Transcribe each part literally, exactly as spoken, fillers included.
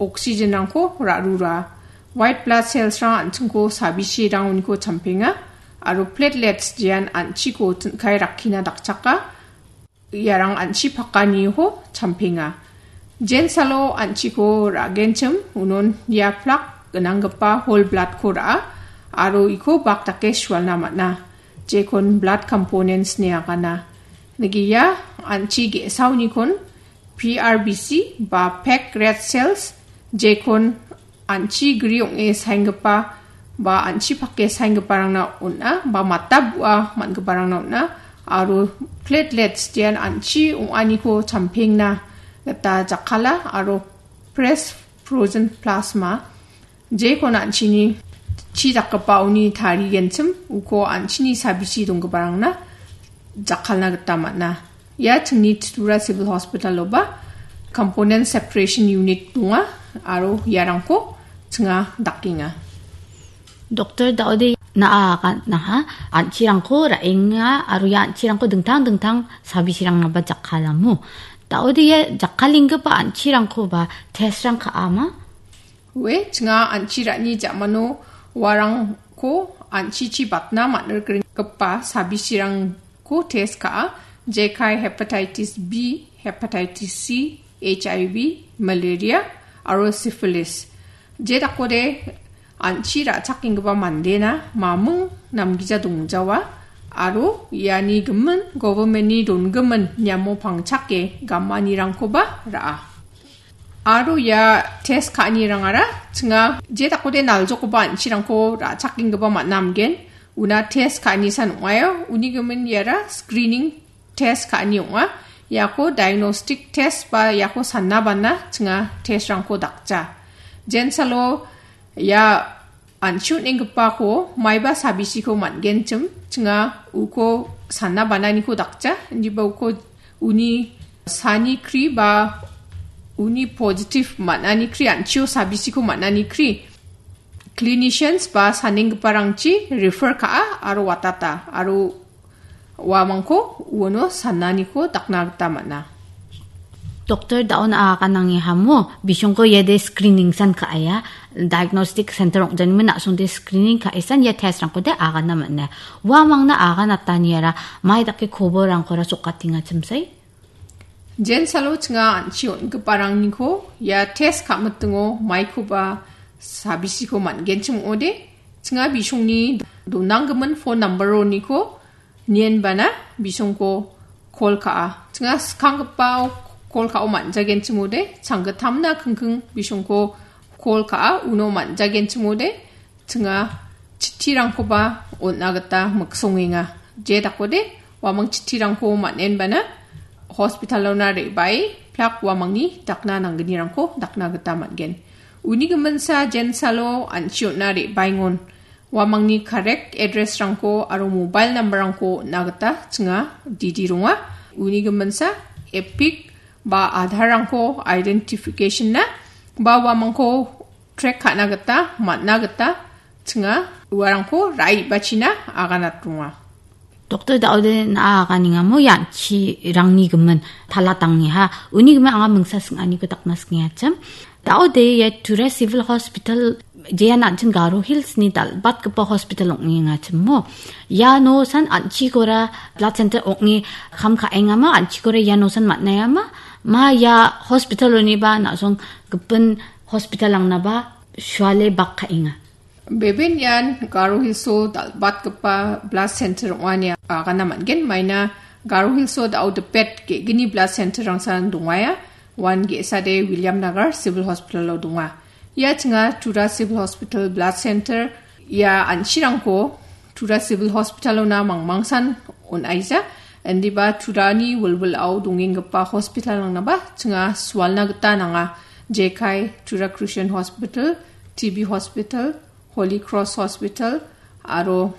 oxygenrangko ra·rura. White blood cellsrang an·chingko sabisirang uniko champenga, aro platelets jean an·chiko tin·kae rakkina dakchaka, iarang an·chi pakaniho champenga. Jensalo an·chiko ra·genchim unon ia plak gnanggipa whole bloodko ra·a, aro iko bak dake sualna man·a, jekon blood components ine agana. Nigiya an·chi ge·saunikon P R B C ba pink red cells, jekon an·chi gri ong·e saenggipa ba an·chi pake saenggiparangna on·a ba mata bu·a man·giparangna on·a, aro platelets jean an·chi ong·aniko champengna gita jakkala, aro fresh frozen plasma, jekon an·chini chi dakgipaoni tarigenchim uko an·chini sabisi donggiparangna jakkalna gita man·a. Ia chingni Tripura Civil Hospital-oba component separation unit donga, aro iarangko chinga dakenga. Doktor Daode, na·a agannaha an·chirangko ra·enga aro ia an·chirangko dingtang dingtang sabisirangnaba jakkalamo. Daode, ia jakkalenggipa an·chirangkoba testrang ka·ama? Ue, chinga an·chi ra·ni ja·mano uarangko an·chichi batna man·rikgipa sabisirangko test ka·a, jekai hepatitis B, hepatitis C, H I V, malaria, aro syphilis. Je dakode an·chi ra·chakenggipa mandena maming namgija dongjawa, aro iani gimin government-ni dongimin niamo pangchake gamanirangkoba ra·a. Aro ia test ka·anirangara chinga je dakode naljokgipa an·chirangko ra·chakenggipa man·amgen. Una test ka·anisan ong·aio. Uni gimin iara screening test ka·ani ong·a. Iako diagnostic test ba iako sanna bana chinga testrangko dakja. Jensalo ia an·chi on·enggipako maiba sabisiko man·genchim, chinga uko sanna bananiko dakja, indiba uko uni sani kri ba uni positive man·ani kri, an·chio sabisiko man·ani kri clinicians ba sanenggiparangchi refer ka·a aro watata, aro uamangko uono sananiko dakna gita man·a. Doktor Daon aganangni hamo, bisongko iade screening san ka·aia, diagnostic center ong·janimin na·songde screening ka·esan ia test rangkode agana man·a. Uamangna aganataniara mai dake koborangkora sokatenga chimsai? Jensalo chinga an·chi on·giparangniko ia test ka·mitingo maikoba sabisiko man·genchim ong·ode, chinga bisongni donanggimin phone number-oniko nienbana bisongko call ka·a. Chinga skanggipao call ka·o man·jagenchimode, changgittamna kingking bisongko call ka·a, uno man·jagenchimode, chinga chittirangkoba on·na gita miksongenga. Je dakode, uamang chittirangko man·enbana hospitalona re·bae plak uamangni dakna nanggnirangko dakna gita man·gen. Uni giminsa jensalo an·chi on·na re·baengon. Uamangni correct address-rangko aro mobile number-rangko on·na gita chinga didi ronga. Uni giminsa EPIC ba Aadhaar-rangko identification-na ba uamangko track ka·na gita, man·na gita chinga uarangko ra·e bachina aganat ronga. Doktor Daode na·a aganengamo ianchirangni gimin talatangniha. Uni gimin anga mingsa sing·aniko dakna singachim. Daode ia Tura Civil Hospital jean an·ching Garo Hills-ni dal·batgipa hospital ong·engachimo. Iano san an·chikora blood center ong·e kam ka·engama, an·chikora iano san man·aengama. Ma ia hospital-oniba na·song gipin hospital-angnaba suale bak ka·enga. Beben ian Garo Hills-o dal·batgipa blood center ong·a ine agana man·gen. Maina Garo Hills-o dao dipet ge·gni blood center-rangsan dongaia. Uan ge·sade William Nagar Civil Hospital-o donga. Ia chinga Tura Civil Hospital Blood Center ia an·chirangko Tura Civil Hospital-ona mangmangsan on·aija. Indiba Turani wilwilao dongenggipa hospital-rangnaba chinga sualna gita nanga. Jekai Tura Christian Hospital, T B Hospital, Holy Cross Hospital, aro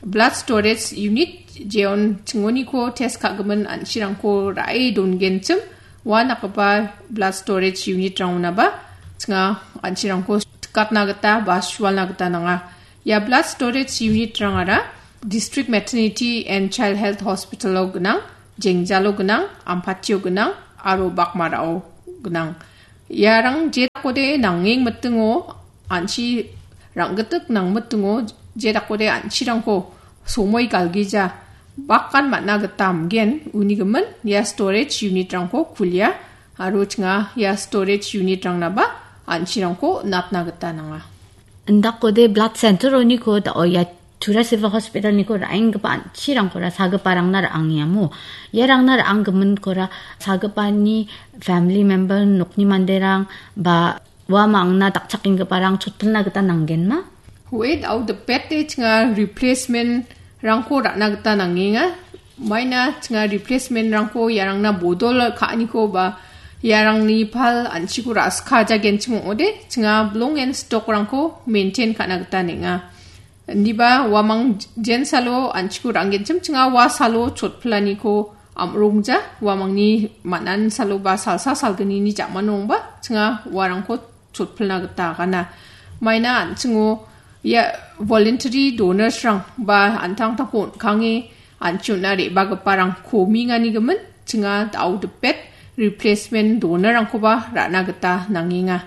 Blood Storage Unit, jeon chingoniko test ka·gimin an·chirangko ra·e dongenchim, ua dakgipa Blood Storage Unit-rangonaba chinga an·chirangko tikatna gita ba sualna gita nanga. Ia Blood Storage Unit-rangara District Maternity and Child Health Hospital-o gnang, Jengjalo gnang, Ampatio gnang, aro Bakmarao gnang. Iarang je dakode nangeng mitingo, an·chi rang·gitik nangmitingo, je dakode an·chirangko somoi galgija bakan man·a gita amgen, uni gimin ia storage unit-rangko kulia aro chinga ia storage unit-rangnaba an·chirangko natna gita nanga. Indakode blood center-oniko da-, o ia Tura Civil Hospital-niko ra·enggipa an·chirangkora sagiparangna ra·angiamo. Iarangna ra·anggiminkora sagipani family member, nokni manderang ba uamangna dakchakenggiparang chotpilna gita nanggenma? Hoe, da·o dipete chinga replacement-rangko ra·na gita nangenga. Maina chinga replacement-rangko iarangna bodol ka·aniko ba iarangni pal an·chiko ra·sikajagenchim ong·ode, chinga belong and stock-rangko maintain ka·na gita nenga. Indiba uamang jensalo an·chiko ra·anggenchim, chinga ua salo chotpilaniko am·rongja, uamangni man·an salo ba salsa salgnini ja·mano ong·ba, chinga uarangko chotpilna gita agana. Maina an·chingo ia voluntary donors-rang ba an·tangtangko on·kange an·chi on·na re·bagiparang komingani gimin, chinga da·o dipet replacement donor-rangkoba ra·na gita nangenga.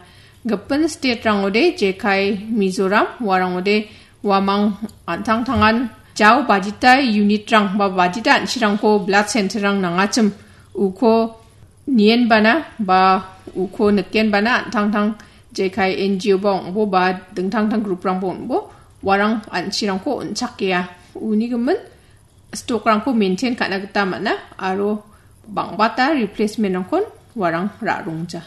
Gipin state-rangode jekai Mizoram, uarangode uamang an·tangtangan jao bajita unit-rang ba bajita an·chirangko blood center-rang nangachim uko nienbana ba uko nikenbana an·tangtang jekai N G O ba ong·bo ba dingtangtang group-rangba ong·bo, uarang an·chirangko on·chakea. Uni gimin stock-rangko maintain ka·na gita man·a aro bang·bata replacement-rangkon uarang ra·rongja.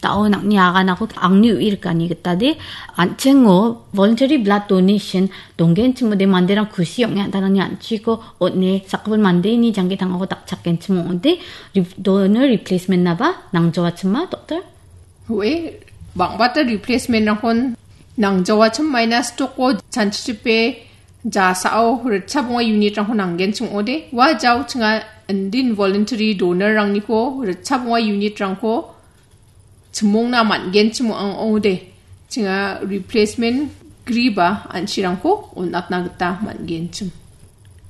Da·o nang·ni aganako angni u·i rikani gitade, an·chingo voluntary blood donation donggenchimode manderang kusi ong·e an·tangtangni an·chiko on·e sakgipin mandeni jangki tangako dakchakgenchim ong·ode, re-, donor replacement-naba nangjawachima, doktor? Hoe, bang·bata replacement-rangkon nangjawachim, maina stock-o chanchichipe jasao ritchap ong·a unit-rangko nanggenchim ong·ode, ua jao chinga indin voluntary donor-rangniko ritchap ong·a unit-rangko chimongna man·genchim ong·ode, chinga replacement griba an·chirangko on·atna gita man·genchim.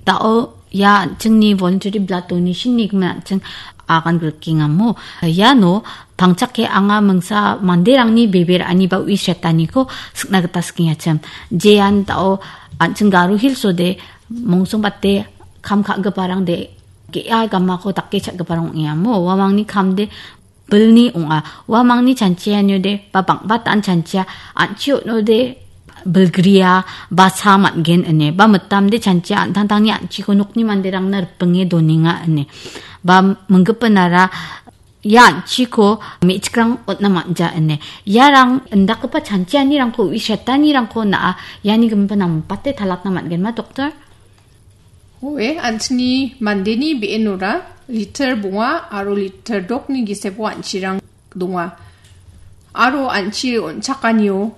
Da·o ia an·chingni voluntary blood donation-ni gimin an·ching agan grikengamo. Iano pangchake anga mingsa manderangni bebe ra·ani ba u·i setaniko sikna gita sikengachim. Jean da·o an·ching Garo Hills-ode mongsongbate kam ka·giparangde ge·a gamako dake cha·giparang ong·eamo. Uamangni kamde bilni ong·a. Uamangni chanchianiode ba bang·batan chanchia an·chi on·ode bilgria ba sa man·gen ine. Ba mitamde chanchia an·tangtangni an·chiko nokni manderangna ripinge donenga ine. Ba minggipinara ia an·chiko me·chikrang on·na man·ja ine. Iarang indakgipa chanchianirangko u·i setanirangko na·a, iani giminba nambate talatna man·genma, doktor? Hoe, an·chingni mandeni be·enora liter bonga aro liter dokni gisepo an·chirang donga. Aro an·chi on·chakanio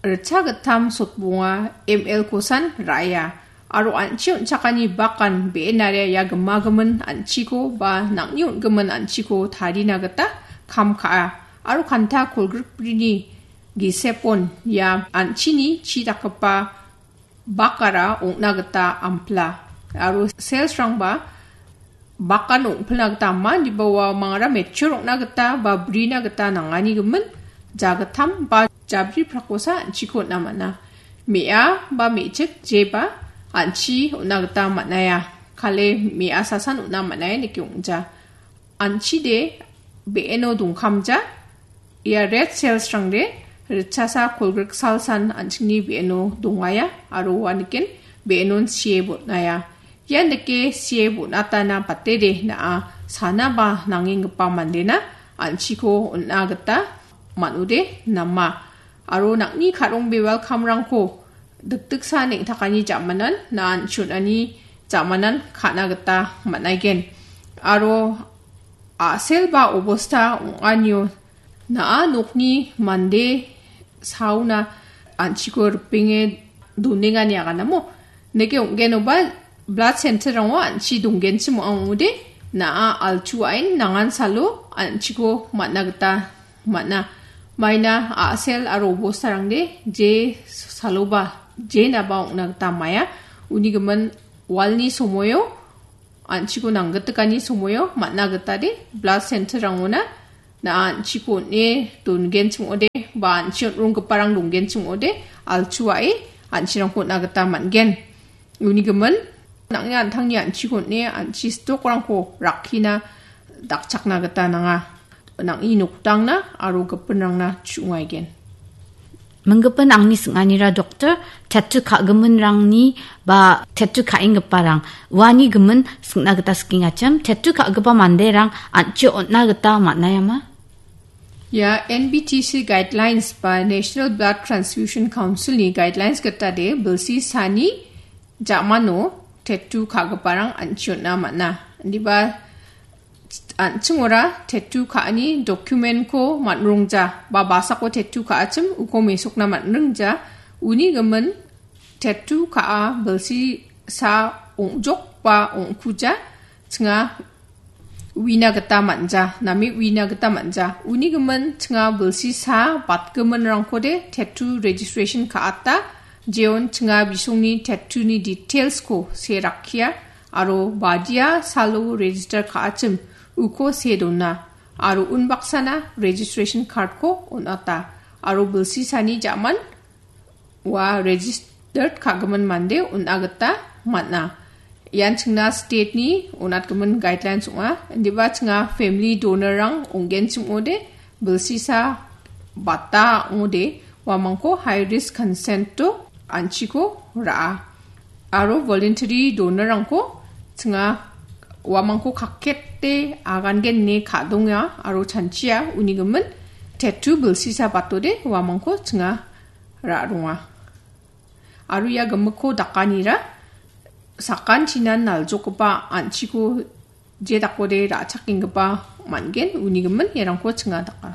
ritchagittam sotbonga M L-kosan ra·aia. Aro an·chi on·chakani bakan be·enaria ia gimagimin an·chiko ba nang·ni on·gimin an·chiko tarina gita kam ka·a. Aro kanta kolgrikbrini gisepon ia an·chini chi dakgipa bakara ong·na gita ampla. Aro sales-rangba bakan ong·pilna gita ama, indiba uamangara mature ong·na gita ba brina gita nangani gimin jagittam ba jabri prakosa an·chiko on·na man·a. Me·a ba me·chik jeba an·chi on·na gita man·aia. Kale me·a sasan on·na man·aia nike ong·ja. An·chide be·eno dongkamja. Ia red sales-rangde ritchasa kolgrik salsan an·chingni be·eno dongaia aro uaniken be·enon sie bon·aia. Ian dake sie bon·atana batede na·a sana ba nangenggipa mandena an·chiko on·a gita man·ode nama. Aro nang·ni ka·rongbe welcome-rangko dikdiksa neng·takani jamanan na·a an·chi on·ani jamanan ka·na gita man·aigen. Aro a·sel ba obosta ong·anio na·a nokni mande saona an·chiko ripenge donengani aganamo. Neke ong·genoba blood center-rango an·chi donggenchim ong·ode, na·a alchu ain nangan salo an·chiko man·na gita man·a. Maina a·sel aro obostarangde je saloba, je naba ong·na gita maia. Uni gimin walni somoio an·chiko nanggitikani somoio man·a gitade blood center-rangona Na an·chiko on·e dongenchim ong·ode, ba an·chi on·ronggiparang dongenchim ong·ode, altuae an·chirangko on·a gita man·gen. Uni gimin, nang·ni an·tangni an·chiko on·e an·chi stokrangko rakkina dakchakna gita nanga. Nang·ni noktangna aro gipinrangna chu·ngaigen. Minggipin angni sing·anira doktor, tattoo ka·giminrangni ba tattoo ka·enggiparang uani gimin sing·na gita skengachim, tattoo ka·gipa manderang an·chi on·na gita man·aiama? Ia N B T C guidelines ba National Blood Transfusion Council-ni guidelines gita de bilsi sani ja·mano tattoo ka·giparang an·chi on·na man·a. Indiba an·chingora tattoo ka·ani document-ko man·rongja ba basako tattoo ka·achim uko mesokna man·ringja. Uni gimin tattoo ka·a bilsi sa ong·jok ba ong·kuja chinga uina gita man·ja, name uina gita man·ja. Uni gimin chinga bilsi sa batgiminrangkode tattoo registration ka·ata, jeon chinga bisongni tattoo-ni details-ko se rakkia aro badia salo register ka·achim uko se dona aro unbaksana registration card-ko on·ata aro bilsi sani ja·man ua registered ka·gimin mande on·a gita man·a. Ian chingna state-ni on·atgimin guidelines ong·a. Indiba chinga family donor-rang ong·genchim ong·ode, bilsisa bata ong·ode, uamangko high risk consent-o an·chiko ra·a. Aro voluntary donor-rangko chinga uamangko kakete agangen ine ka·donga aro chanchia uni gimin tattoo bilsisa batode uamangko chinga ra·ronga. Aro ia gimikko dakanira sakantinan naljokgipa an·chiko je dakode ra·chakenggipa man·gen, uni gimin iarangko chinga daka.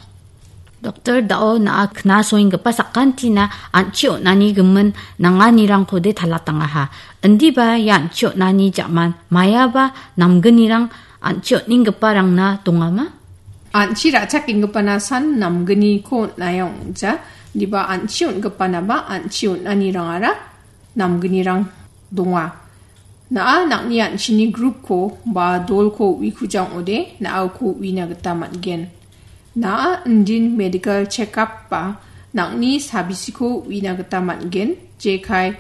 Doktor, da·o na·a knasoenggipa sakantina an·chi on·ani gimin nanganirangkode talatangaha. Indiba ia an·chi on·ani ja·man maiaba namgnirang an·chi on·enggiparangna dongama? An·chi ra·chakenggipana san namgniko on·aia ong·ja. Indiba an·chi on·gipanaba an·chi on·anirangara namgnirang donga. Na·a nang·ni an·chini group-ko ba dolko uikuja ong·ode, na·a uko uina gita man·gen. Na·a indin medical check-up ba nang·ni sabisiko uina gita man·gen, jekai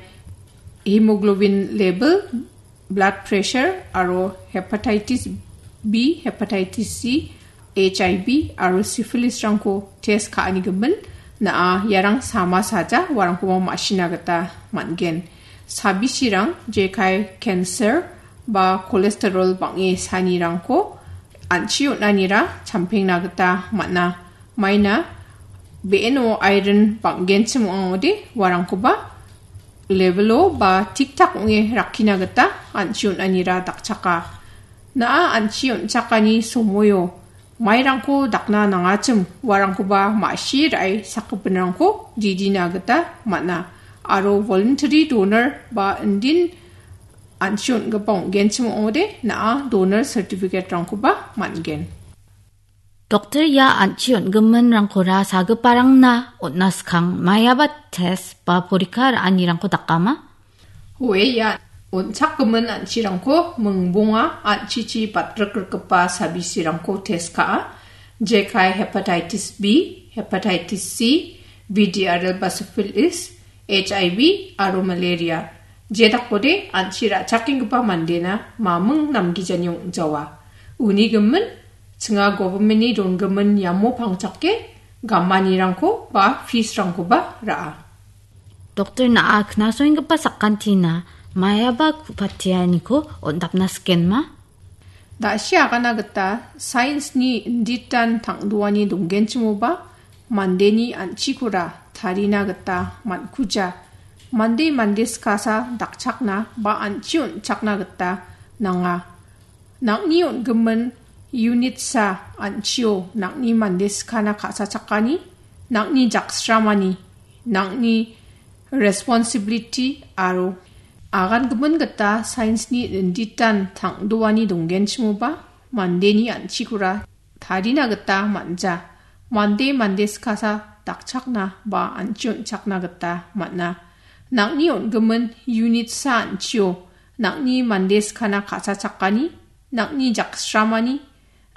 hemoglobin level, blood pressure aro hepatitis B, hepatitis C, H I V aro syphilis-rangko test ka·ani gimin, na·a iarang sama saja uarangkoba ma·sina gita man·gen. Sabisirang jekai cancer ba cholesterol bang·e sanirangko an·chi on·anira champengna gita man·a. Maina be·eno iron bang·genchim ong·ode uarangkoba level-o ba tik-tak ong·e rakkina gita an·chi on·anira dakchaka. Na·a an·chi on·chakani somoio mairangko dakna nangachim uarangkoba ma·si ra·e sakgipinrangko didina gita man·a. Aro voluntary donor ba indin an·chi on·gipa ong·genchim ong·ode na·a donor certificate-rangkoba man·gen. Doktor, ia an·chi on·giminrangkora sagiparangna on·na skang maiaba test ba porikka ra·anirangko dakama? Oe, ia on·chakgimin an·chirangko mingbonga an·chichi batrikrikgipa sabisirangko test ka·a. Jekai hepatitis B, hepatitis C, V D R L ba syphilis, H I V aro malaria. Jedakode an·chi ra·chakenggipa mandena maming namgijani ong·jawa. Uni gimin, chinga government-ni donggimin iamo pangchake gamanirangko ba fees-rangkoba ra·a. Doktor, na·a knasoenggipa sakantina maiaba ku·patianiko on·dapna sikenma? Da·si agana gita science-ni inditan tang·doani donggenchimoba mandeni an·chikora tarina gita man·kuja. Mande mande skasa dakchakna ba an·chi on·chakna gita nanga. Nang·ni on·gimin unitsa an·chio nang·ni mande skana ka·sachakani, nang·ni jaksramani, nang·ni responsibility aro agangimin gita science-ni inditan tang·doani donggenchimoba mandeni an·chikora tarina gita man·ja. Mande mande skasa dakchakna ba an·chi on·chakna gita man·a. Nang·ni on·gimin unitsa an·chio nang·ni mande skana ka·sachakani, nang·ni jaksramani,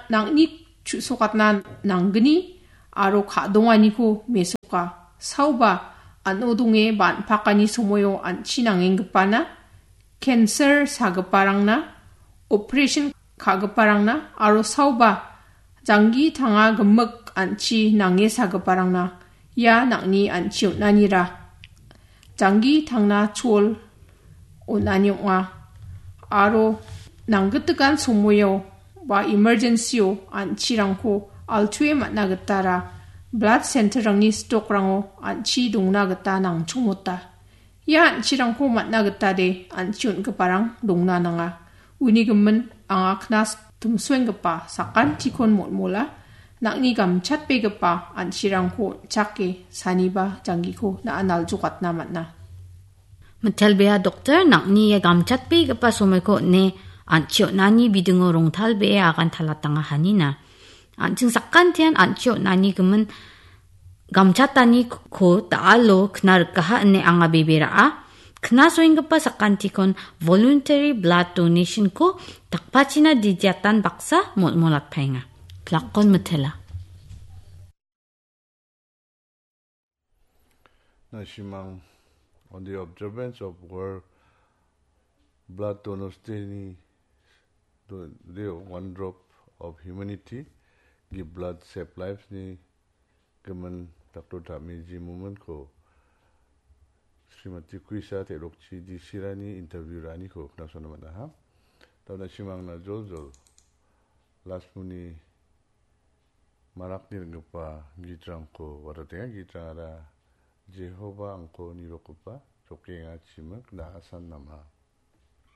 nang·ni chu·sokatna nanggni aro ka·donganiko mesoka. Saoba an·o donge ban·pakani somoio an·chi nangenggipana, cancer sagiparangna, operation ka·giparangna aro saoba janggi tanga gimik an·chi nange sagiparangna ia nang·ni an·chi on·anira janggi tangna chol on·ani ong·a. Aro nanggitikan somoio ba emergency-o an·chirangko altuwe man·a gitara blood center-rangni stokrango an·chi dongna gita nangchongmota. Ia an·chirangko man·a gitade an·chi on·giparang dongna nanga. Uni gimin anga knas timsoenggipa sakantikon molmola nang·ni gamchatbegipa an·chirangko on·chake saniba janggiko na·a naljokatna man·a. Mitelbea doktor, nang·ni ia gamchatbegipa somoiko on·e an·chi on·ani bidingo rongtalbee agan talatanga hanina. An·ching sakantian an·chi on·ani gimin gamchataniko da·alo kna rikaha ine anga bebe ra·a. Kna soenggipa sakantikon voluntary blood donation-ko dakpachina didiatan baksa molmolatpaenga. Plakon mitela. Na·simang, on the observance of World Blood Donors Day-ni do-, day of One Drop of Humanity, Give Blood, Save Lives-ni gimin Doctor Tami G. Mumin-ko Srimati Kuisa Terokchi D C-rangni interview ra·aniko knasona man·aha. Dauna simangna joljol Lasmuni marakni ring·gipa gitrangko watatenga. Gitrangara Jehoba angko nirokgipa, jokenga chimik na·asan namha.